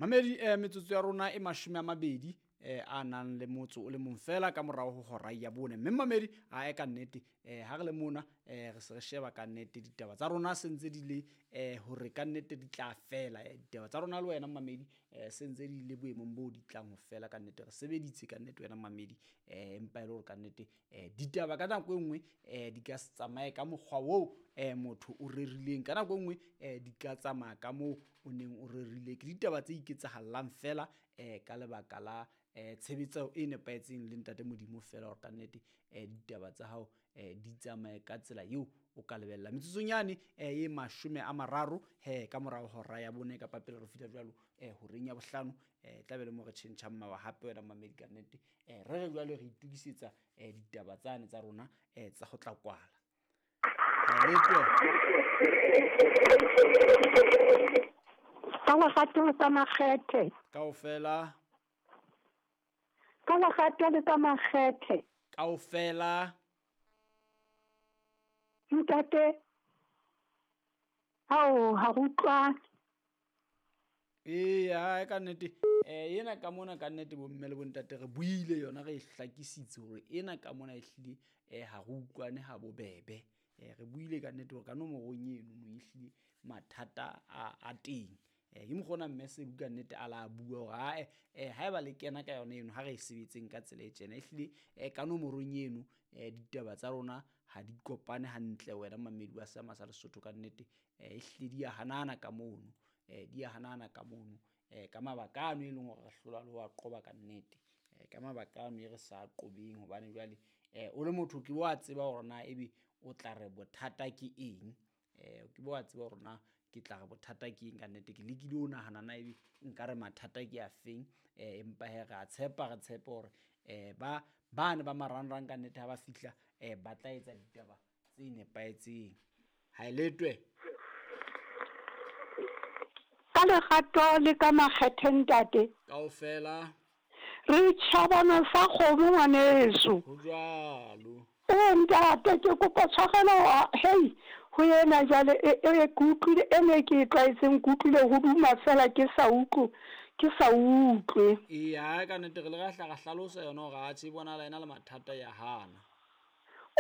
Mamedi, metsotso ya rona e 20 a nang le motso o le mong fela ka morao ho hora ya 4. Mme mamedi, ae ka nnete, ha re le mona, re se re sheba ka nnete ditaba tsa rona se ntse di le hore ka nnete di tla fela. Ditaba tsa rona le wena mamedi, se ntse di le boemong bo di tlang ho fela ka nnete. Re sebeditse ka nnete wena mamedi, empa e le hore ka nnete ditaba ka nako e nngwe di ka se tsamaye ka mokgwa oo motho o rerileng. Ka nako e nngwe di ka tsamaya ka moo o neng o rerile. Ke ditaba tse iketsahallang fela ka lebaka la tshebetso e nepahetseng le ntate Modimo fela hore ka nnete ditaba tsa hao di tsamaye ka tsela eo o ka lebella. Metsotsong yane e 30 he ka morao hora ya 4 kapa pele re fihla jwalo horeng ya 5, tla be le mo re tjhentjhang mawa hape wena mamedi ka nnete. Re re jwale re itokisetsa ditaba tsane tsa rona tsa ho tla kwala. Ka lerato le ka makgethe. Kaofela. Ka lerato le ka makgethe. Kaofela. Ntate, hao ha re utlwane. Eya, ka nnete. Ena ka mona ka nnete bomme le bontate re buile yona, re e hlakisitse hore ena ka mona ehlile ha re utlwane ha bobebe. Re buile ka nnete hore ka nomorong eno no ehlile mathata a teng. Ke mokgona mme Sebu ka nnete a la bua hore ae, haeba le kena ka yona eno ha re e sebetseng ka tsela e tjena. Ehlile ka nomorong eno ditaba tsa rona ha di kopane hantle wena mamedi wa Seama sa Lesotho ka nnete. Ehlile di a hanana ka mono, di a hanana ka mono, ka mabaka ano e leng hore re hlola le ho a qoba ka nnete. Ka mabaka ano e re sa qobeng hobane jwale o le motho ke wa tseba hore na ebe o tla re bothata ke eng. Ke bo a tseba hore na ke tla re bothata ke eng ka nnete. Ke lekile ho nahana na ebe nka re mathata ke a feng, empa hee re a tshepa, re tshepe hore ba bane ba marangrang ka nnete ha ba fihla ba tla etsa ditaba tse nepahetseng. Ha e letwe. Ka lerato le ka makgethe ntate. Kaofela. Re tjhabana sa kgomo ngwaneso. Ho jwalo. Ntate, ke kopa tshwarelo, hei, ho ena jwale e ke utlwile e ne ke e tlwaetseng, ke utlwile ho duma fela ke sa utlwe, ke sa utlwe. Eya, ka nnete re le ra hla ra hlalosa yona hore atjhe e bonahala ena le mathata ya hana.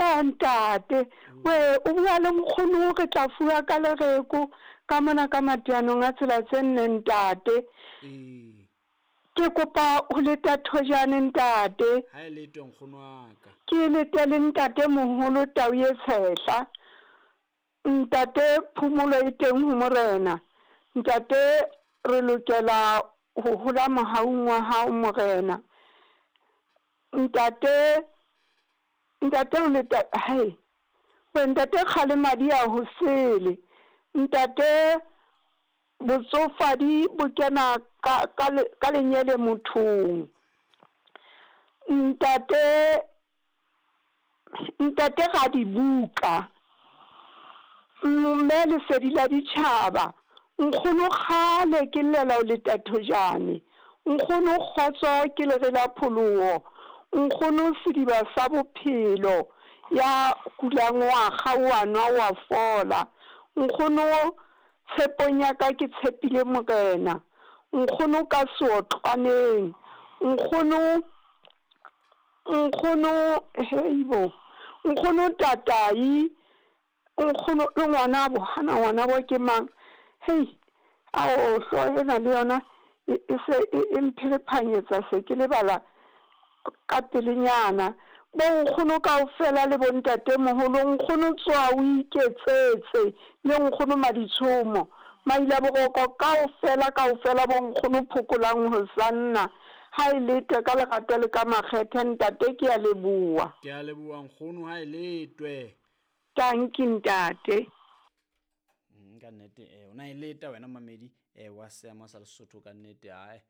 O ntate, we o bua le nkgono re tla fuwa ka lereko ka mona ka mateanong a tsela tse nne ntate. Ke kopa ho leta thojane ntate. Ha e lete nkgono wa ka. Ke lete le ntate moholo tau e tshehla. Ntate phomolo e teng ho morena. Ntate re lokela ho hola mohaung wa hao morena. Ntate, ntate o leta hai. We ntate kgale madi a ho sele. Ntate botsofadi bo kena ka lenyele mothong. Ntate, ntate ga dibuka. Mme lesedi la ditjhaba. Nkgono kgale ke llela o leta thojane. Nkgono kgotso ke lere la pholoho. Nkgono sediba sa bophelo. Ya kulang wa kgaoha nwa wa fola. Nkgono tshepong ya ka ke tshepile morena. Nkgono ka seotlwaneng. Nkgono, nkgono heibo. Nkgono tatai. Nkgono le ngwanabo, hana ngwanabo ke mang? Hei, ao hlooho ena le yona e se e mpherephanyetsa se ke lebala ka pelenyana. Bo nkgono kaofela le bontate moholo, nkgono tswa o iketsetse le nkgono Maditshomo. Maila boroko kaofela kaofela bo nkgono phokolang hosanna. Ha e letwe ka lerato le ka makgethe ntate, ke a leboha. Ke a leboha nkgono, ha e letwe. Tanki ntate. Ka nnete, o na e leta wena mamedi wa Seama sa Lesotho ka nnete. Ae,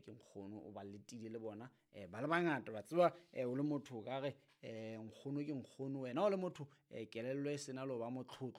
ke nkgono o ba letile le bona, ba le bangata ba tseba, o le motho o ka re, nkgono ke nkgono wena o le motho, kelello e sena le ho ba motlotlo.